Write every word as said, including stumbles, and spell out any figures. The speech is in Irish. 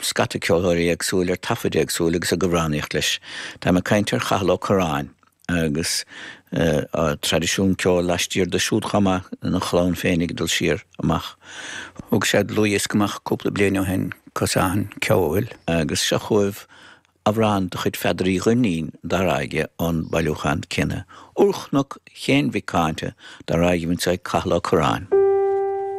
Scata ceoltóirí éagsúil ar taifid éagsúil agus ag amhránaíocht leis. Tá mé ag caint ar Chathal Ó Curráin agus traidisiún ceoil laistiar de siúd chomh maith ina chlann féin ag dul siar amach. Thóg sé dlúthdhiosca amach cúpla bliain ó shin, Cosán Ceoil, agus seo chugaibh amhrán de chuid Pheadair Uí Dhuinnín dar aige ón bailiúchán céanna, Úrchnoc Chéin Mhic Cáinte dar aige ag Cathal Ó Curráin.